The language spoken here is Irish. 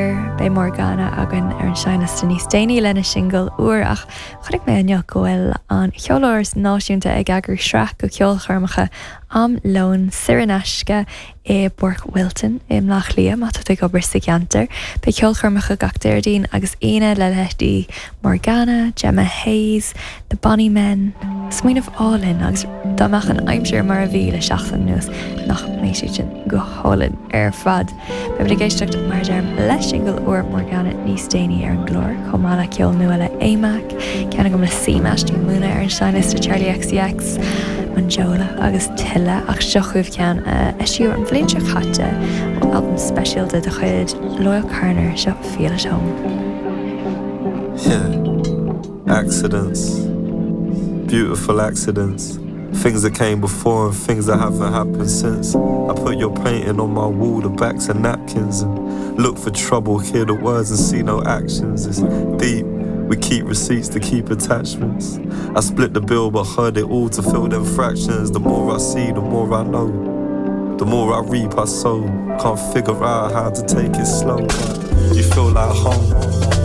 gclár. Beidh Morgana againn ar an seinnliosta níos déanaí lena singil úr ach chonaic mé inniu go bhfuil an Cheoláras Náisiúnta ag eagrú sraith de cheolchoirmeacha am lóin saor in aisce i bPáirc Wilton i mBleá Cliath, má tá tú ag obair sa gceantar. Beidh ceolchoirmeacha gach Déardaoin agus Aoine le leithéidí Morgana, Gemma Hayes, The Bonny Men. Smaoineamh álainn agus dá mbeadh an aimsir mar a bhí le seachtain anuas nach mbeadh siad sin go hálainn ar fad. Beimid ag éisteacht, mar a deirim, le singil úr Morgana níos déanaí ar an gclár, chomh maith le ceol nua le AMAC, ceann agam le CMAT, Múna ar an seinnliosta, Charli XCX, Monjola agus tuilleadh ach seo chugaibh ceann a eisíodh an bhliain seo caite ó albam speisialta de chuid Loyle Carner, seo Feel at Home. Yeah, accidents, beautiful accidents. Things that came before and things that haven't happened since. I put your painting on my wall, the backs of napkins, and look for trouble, hear the words and see no actions. It's deep. We keep receipts to keep attachments. I split the bill but heard it all to fill them fractions. The more I see, the more I know. The more I reap, I sow. Can't figure out how to take it slow. But you feel like home.